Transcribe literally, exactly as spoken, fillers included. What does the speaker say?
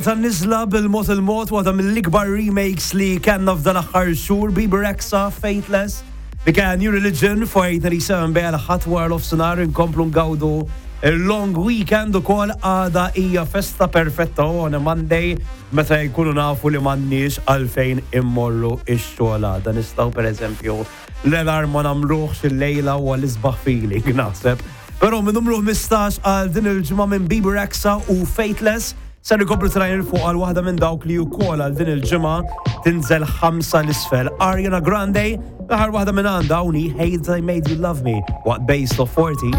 Tan-niżla bil-mod il-mod, waħda mill-ikbar remakes li kellna f'dan l-aħħar xhur, Bebe Rexha, Faithless. Dik New Religion fuq eight ninety-seven bejn ħadd wara nofsinhar, inkomplu ngawdu il-long weekend ukoll. Għada hija festa perfetta on a Monday meta jkunu nafu li m'għandniex għalfejn immorru ix-xogħol għada. Nistgħu, pereżempju, l-alarm ma nagħmluhx il-lejla u għal-isbaħ feeling naħseb. Però minn numru ħmistax għal din il-ġimgħa minn Bebe Rexha u Faithless ser ikomplu trajn fuq għal waħda minn dawk li wkoll għal din il-ġimgħa tinżel ħamsa 'l isfel. Ariana Grande, l-aħħar waħda minn għandha hawnhi, Hate I Made You Love Me, waqt Base Top forty.